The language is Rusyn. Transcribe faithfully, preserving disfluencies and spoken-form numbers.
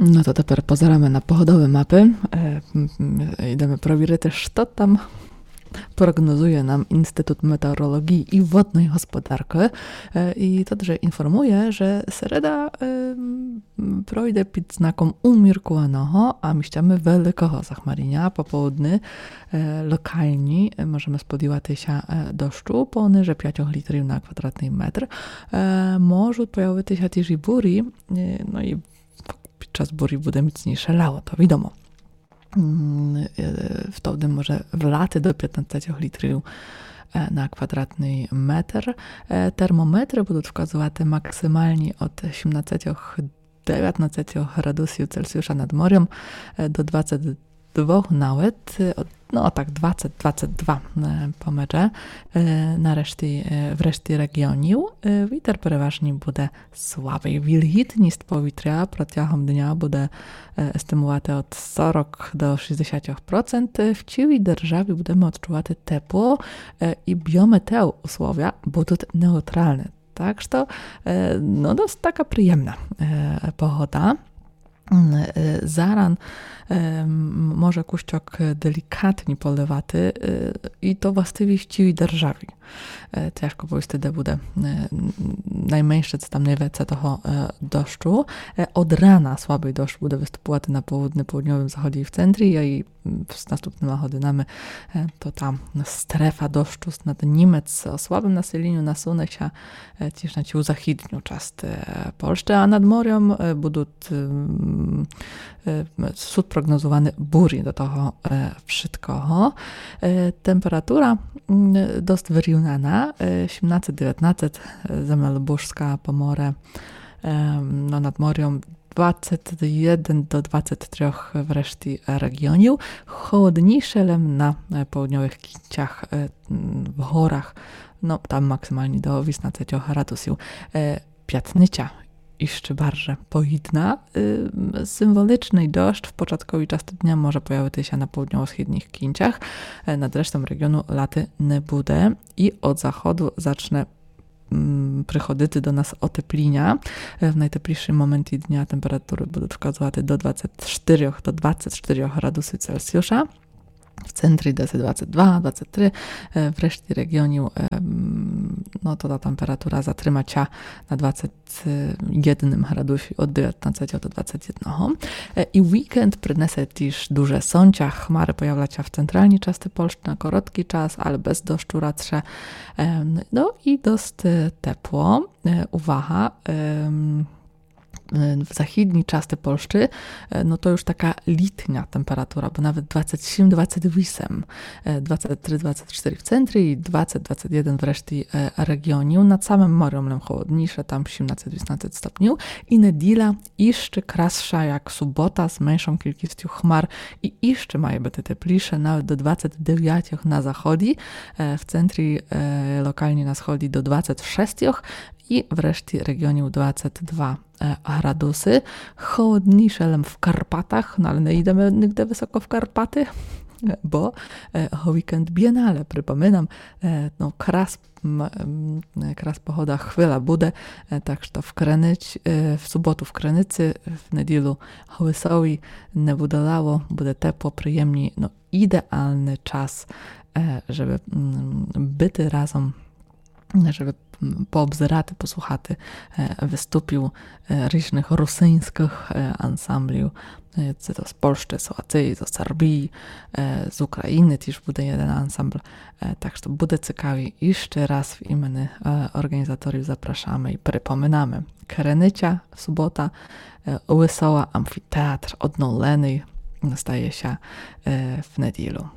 Но то тепер позираме на погодовы мапы. Е, м, м, йдеме провірити, што там прогнозує нам Інститут метеоролоґії і водної господаркы. Е, і тот же інформує, же середа, е, м, пройде під знаком уміркуваного, а місцями великого захмаріня. Пополудни, е, локалні, е, можеме сподівати ся, е, дощу пониже пятьох літрів на квадратный метр. Е, можуть появити ся тіж і бурі, е, но і під час бурі буде міцніше лало, то відомо. М, е, втовды може влати до пятнадцятьох літрів, е, на квадратный метр. Е, термометры будуть вказовати максималні од сімнадцятьох, девятнадцятьох градусів Цельсіуша над морем, е, до двадцять двох навет, е, од, но так, двадцять, двадцять два, е, помеже, е, на решті, е, в решті реґіонів. Е, вітер переважні буде слабый. Вільгітніст повітря протягом дня буде, е, естимувати од сорок до шістдесятьох процент. В цілій державі будеме одчувати тепло, е, і біометеоусловя будуть неутралны. Так што, е, но, дост така приємна, е, погода. М, е, заран, е, м, може кущок делікатні поливати, е, і то властиві в цілій державі. Е, тяжко повісти, де буде, е, н-, найменше, ци там найвеце того, е, дощу. Е, од рана слабый дощ буде выступувати на полудни, полудньовім заході і в центрі, а і, м, з наступныма годинами, е, то та стрефа дощу над Німец о слабым населеню насуне ся, е, тіж на цю західню част, е, Польщы, а над морем, е, будуть, м, е, суть прогнозуваны бурі до того, е, вшыткого. Е, температура, м, дост вырівнана, е, сімнадцять, девятнадцять, е, земелебужска, Поморє, е, но, над морем двадцять єден до двадцять трьох в решті реґіонів. Холодніше лем на, е, полудньовых кінцях, е, м, в горах, но, там максималні до вісемнадцятьох градусів. Е, пятниця іщы барже погідна. Е, символічный дощ в початковій части дня може появити ся на полудньово-східніх кінцях. Е, над рештом реґіону лати не буде. І од заходу зачне, м, приходити до нас отепліня. Е, в найтеплішым моменті дня температуры будуть вказовати до двадцять штырьох, до двадцять штырьох градусів Цельсіуша. В центрі десь двадцять два, двадцять три, е, в решті реґіонів, е, м, но, то та температура затрима ся на двадцять єдным градусі од девятнадцятого до двадцять єдного. Е, і вікенд принесе тіж дуже сонця, хмары появлять ся в централній части Польщы на короткій час, але без дощу радше. Е, но і дост, е, тепло. Е, увага, е, м, е, в західній части Польщы, е, но то юж така літня температура, бо навет двадцять сім, двадцять вісем, е, двадцять три, двадцять штыри в центрі і двадцять, двадцять єден в решті, е, реґіонів. Над самым морем лем холодніше, там сімнадцять, вісемнадцять стопнів. І неділя іщы красша як субота з меншом кількістю хмар і іщы має быти тепліше, навет до двадцять девятьох на заході, е, в центрі, е, локалні на сході до двадцять шестьох і в решті реґіонів двадцять два, е, градусы. Холодніше лем в Карпатах, но але не йдеме нигде высоко в Карпаты, бо, е, го вікенд Бієнале, припоминам, е, но, крас, м, м, крас погода, хвиля буде, е, так што в Криниці, е, в суботу в Криниці, в неділю Гвисові не буде лало, буде тепло, приємні, но, ідеалный час, е, жебы, м, быти разом, жебы, м, пообзирати, послухати, е, выступів, е, ріжных русиньскых, е, ансамблів. Е, ци то з Польщы, з Латвії, з Сербії, е, з Україны тіж буде єден ансамбл. Е, так што буде цікаві. Іщы раз в імены, е, орґанізаторів запрашаме і припоминаме. Криниця, субота, е, Высола, амфітеатр, одновленый, стає ся, е, в неділю.